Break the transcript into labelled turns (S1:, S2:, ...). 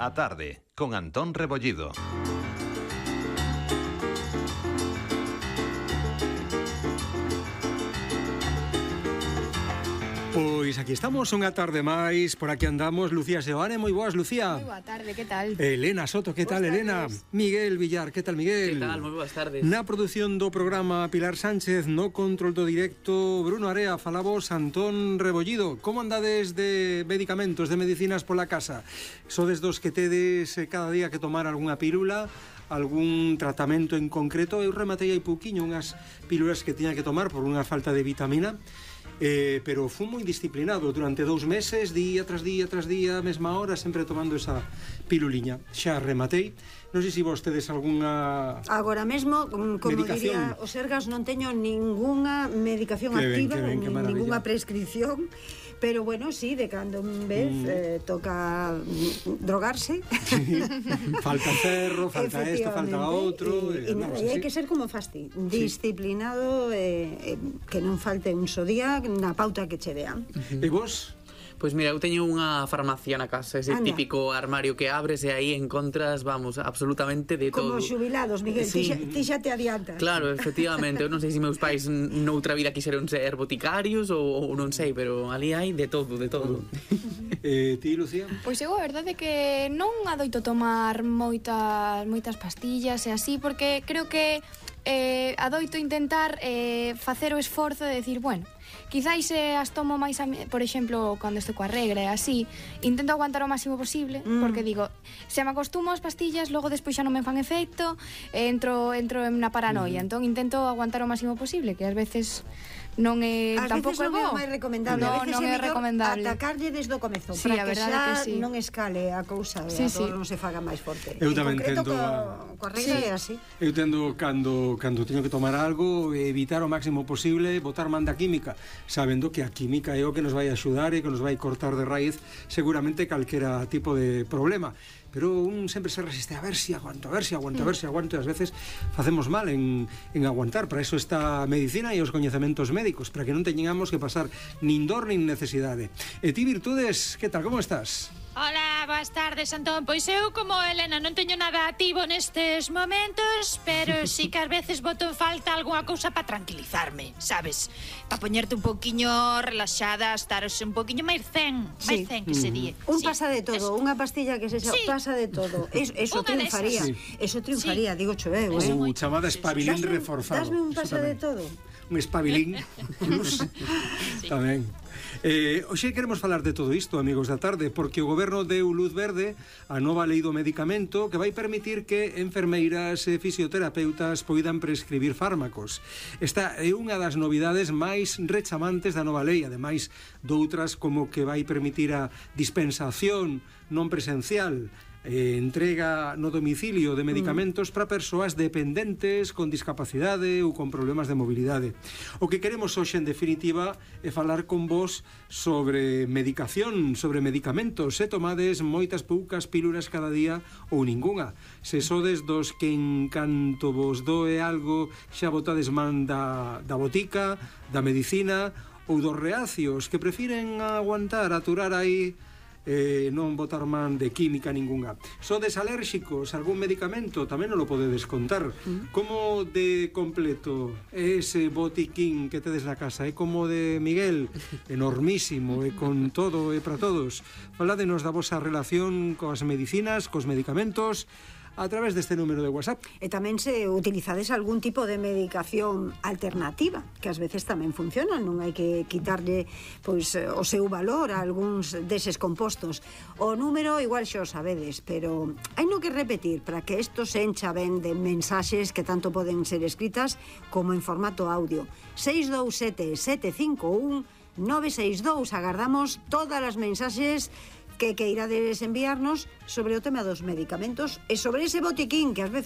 S1: A tarde, con Antón Rebollido.
S2: Pois aquí estamos unha tarde máis, por aquí andamos. Lucía Seoane, moi boas, Lucía.
S3: Moi boa tarde, que tal?
S2: Elena Soto, que tal, Elena? Miguel Villar, que tal, Miguel?
S4: Que tal, moi boas tardes.
S2: Na produción do programa Pilar Sánchez, no control do directo Bruno Area, falamos Antón Rebollido. Como andades de medicamentos, de medicinas pola casa? Sodes dos que tedes cada día que tomar algunha pílula, algún tratamento en concreto? Eu rematei hai pouquiño unhas pílulas que tiña que tomar por unha falta de vitamina, pero fui moi disciplinado durante 2 meses, día tras día, mesma hora, sempre tomando esa piluliña. Xa rematei. Non sei se vos tedes algunha
S5: agora mesmo, como
S2: medicación.
S5: diría o Sergas, non teño ninguna medicación activa, ninguna prescripción, pero bueno, sí, de cando en vez toca drogarse.
S2: Sí. Falta cerro, falta esto, falta outro,
S5: e hai que ser como fasti, disciplinado, que non falte un só día na pauta que che dean.
S2: E vos?
S4: Pois mira, eu teño unha farmacia na casa, ese típico armario que abres e aí encontras, vamos, absolutamente de todo.
S5: Como xubilados, Miguel,
S4: Sí.
S5: ti xa te adiantas.
S4: Claro, efectivamente, eu non sei se meus pais noutra vida quixeron ser boticarios ou non sei, pero ali hai de todo, de todo.
S2: Ti, Lucía?
S3: Pois eu a verdade é que non adoito tomar moitas pastillas e así, porque creo que adoito intentar facer o esforzo de decir, bueno, quizáis as tomo máis, por exemplo, cando estou coa regra e así, intento aguantar o máximo posible, porque digo, se me acostumo ás pastillas, logo despois xa non me fan efecto, entro na paranoia, entón intento aguantar o máximo posible, que ás veces non é tampouco é bo.
S5: Non é máis recomendable,
S3: non é recomendable.
S5: Atacarlle desde o comezo,
S3: Sí,
S5: para
S3: a
S5: que
S3: verdade
S5: xa
S3: que sí.
S5: non escale a cousa,
S3: Sí, sí.
S5: non se faga máis forte.
S2: Eu tamén
S5: en concreto,
S2: tendo
S5: coa regra é así.
S2: Eu tendo cando teño que tomar algo, evitar o máximo posible botar man da química, sabendo que a química é o que nos vai axudar e que nos vai cortar de raíz seguramente calquera tipo de problema. Pero un sempre se resiste a ver si aguanto, e ás veces facemos mal en aguantar. Para eso está a medicina e os coñecementos médicos, para que non teñamos que pasar nin dor nin necesidade. E ti, Virtudes, que tal, como estás?
S6: Hola, boas tardes, Antón. Pois eu, como Elena, non teño nada activo nestes momentos, pero sí que ás veces boto en falta algunha cousa para tranquilizarme, sabes? Para poñerte un pouquiño relaxada, estar un pouquiño máis zen, que se di.
S5: Un pasa de todo, unha pastilla que se pasa de todo. Eso triunfaría. Eso triunfaría, digo cho eu,
S2: Chamada espabilin reforzado.
S5: Dasme un pasa de todo.
S2: Un espabilin plus. Tamén. Hoxe queremos falar de todo isto, amigos da tarde, porque o goberno deu luz verde a nova lei do medicamento que vai permitir que enfermeiras e fisioterapeutas poidan prescribir fármacos. Esta é unha das novidades máis rechamantes da nova lei, ademais doutras como que vai permitir a dispensación non presencial, entrega no domicilio de medicamentos para persoas dependentes con discapacidade ou con problemas de mobilidade. O que queremos hoxe, en definitiva, é falar con vos sobre medicación, sobre medicamentos. Se tomades moitas poucas pílulas cada día ou ningunha. Se sodes dos que en canto vos doe algo xa botades man da botica, da medicina, ou dos reacios que prefiren aguantar, aturar aí, non botar man de química ningunha. Sodes alérxicos a algún medicamento, tamén non lo podedes contar. Como de completo é ese botiquín que tedes na casa? É como de Miguel, enormísimo, e con todo e para todos. Faládenos da vosa relación coas medicinas, cos medicamentos, a través deste número de WhatsApp.
S5: E tamén se utilizades algún tipo de medicación alternativa, que ás veces tamén funcionan, non hai que quitarlle pois o seu valor a algúns deses compostos. O número igual xa o sabedes, pero hai no que repetir para que isto se encha ben de mensaxes que tanto poden ser escritas como en formato audio. 627 751 962. Agardamos todas as mensaxes que irades enviarnos sobre o tema dos medicamentos e sobre ese botiquín que ás veces